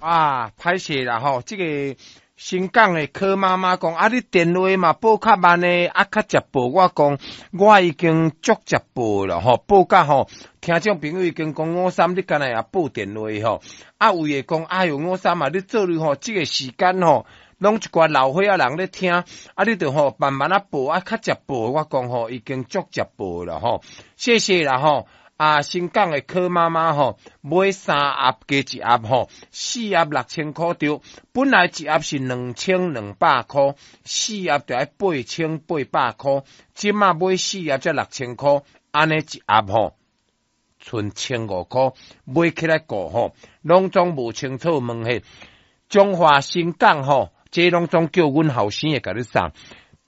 啊，歹勢啦吼！這個新港的柯媽媽講，啊，你電話嘛報較慢的，啊，較捷報。我講，我已經足捷報了吼，報甲吼，聽眾朋友已經講五三，你敢若也報電話吼？啊，有的講，哎喲，五三啊，你做你吼，這個時間吼，攏一寡老歲仔人咧聽，啊，你著吼慢慢仔報，啊，較捷報。我講吼，已經足捷報了吼，謝謝啦吼。啊，新港的柯媽媽吼，買三盒加一盒吼，四盒6000箍著。本來一盒是2200箍，四盒著愛8800箍。這馬買四盒才六千箍，按呢一盒吼，賰1500箍，買起來顧吼，攏總無清楚問彼彰化新港吼，這攏總叫阮後生的共你送。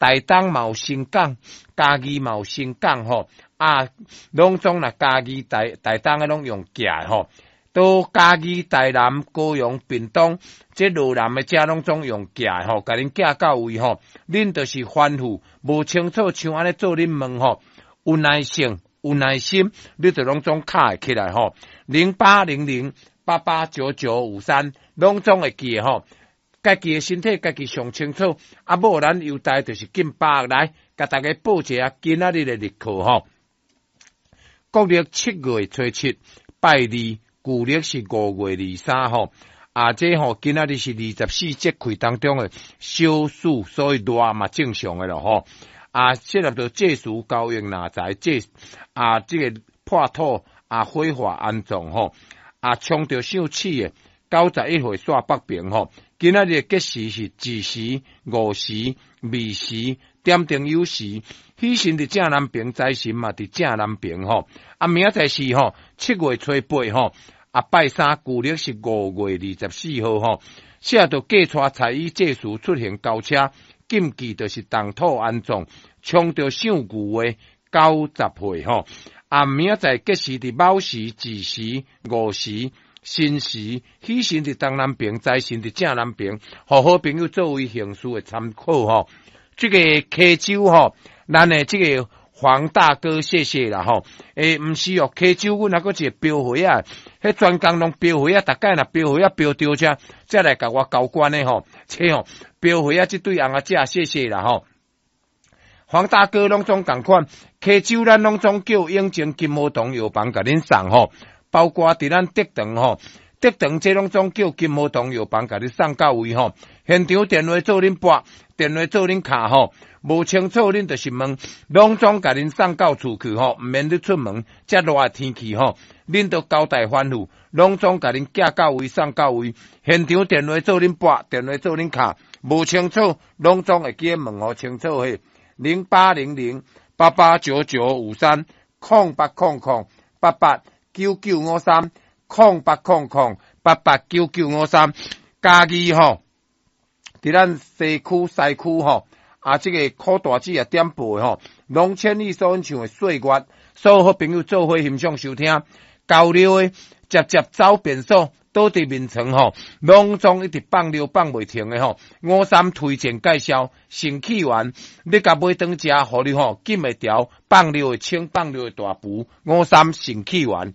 台東嘛有新港，嘉義嘛有新港吼。啊，攏總若嘉義、台東的攏用寄的吼，到嘉義、台南、高雄、屏東，這羅南的遮攏總用寄的吼，共恁寄到位吼。恁就是吩咐無清楚，像按呢做恁問吼，有耐性、有耐心，你就攏總敲會起來吼。0800889953，攏總會記的吼。家己的身體，家己上清楚。啊，無咱優待就是進百來，共大家報一下今仔日的日課吼。國曆7月初7，拜二，舊曆是5月23吼。啊，這吼今仔日是24節氣當中的小暑，所以熱嘛正常的咯吼。啊，適合著祭祀交易納財，這啊，這個破土啊，火化安葬吼。啊，衝著想鼠的91歲煞北平吼。今仔日的吉時是子時、午時、未時、點燈酉時，喜神佇正南爿，財神嘛佇正南爿吼。啊，明仔載是吼7月初8吼，啊拜三，舊曆是5月24號吼。寫著嫁娶彩衣祭祀出行交車，禁忌就是動土安葬，衝著想牛的90歲吼。啊，明仔載吉時佇卯時、子時、午時、申時，喜神佇東南爿，財神佇正南爿，予好朋友作為行事的參考吼。這個溪州吼，咱的這個黃大哥，謝謝啦吼。欸，毋是哦，溪州阮還閣一個標花仔，彼專工攏標花仔，逐擺若標花仔標著遮，才來共我交關的吼。這吼標花仔這對翁仔姐，謝謝啦吼。黃大哥攏總仝款，溪州咱攏總叫永靖金和堂藥房共恁送吼。包括佇咱德長吼，德長這攏總叫金和堂藥房共你送到位吼。現場電話做恁撥，電話做恁敲吼，無清楚恁就是問，攏總共恁送到厝去吼，毋免你出門。遮熱的天氣吼，恁都交代吩咐，攏總共恁寄到位送到位。現場電話做恁撥，電話做恁敲，無清楚，攏總會記得問予清楚彼0800889953 0800889953 0800889953，嘉義吼，佇咱西區西區吼，啊，這個柯大姊也點播的吼，龍千里所演唱的《歲月》，所有好朋友做伙欣賞收聽，交流的捷捷走便所，倒佇眠床吼，攏總一直放尿放袂停的吼。五三推薦介紹，腎氣丸，你共買轉食，予你吼禁會牢，放尿會清，放尿會大浮。五三腎氣丸。